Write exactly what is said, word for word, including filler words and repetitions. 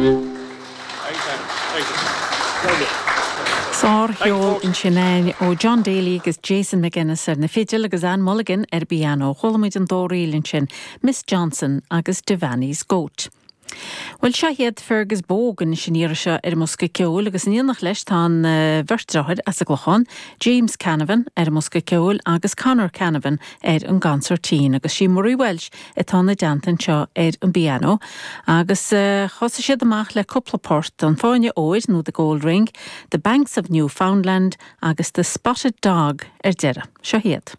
Thank you. Thank you. Sárcheol ansin ó John Daly agus Jason McGuinness ar na fidil agus Anne Mulligan ar piano chuala muid an dá ríl ansin Miss Johnson agus Devaney's Goat. Well seo iad Fergus Bogan sin iar seo ar mbosca ceoil agus in éineacht leis tá an uh, bheirt deartháir as an gClochán, James Canavan ar an mbosca ceoil agus Conor Canavan ar an gconsairtín agus sí Murray Welsh atá ina dteannta anseo ar an bpianó agus uh, thosaigh siad amach le cúpla port an Fáinne Óir nó the Gold Ring, The Banks of Newfoundland agus The Spotted Dog ar deireadh. Seo iad.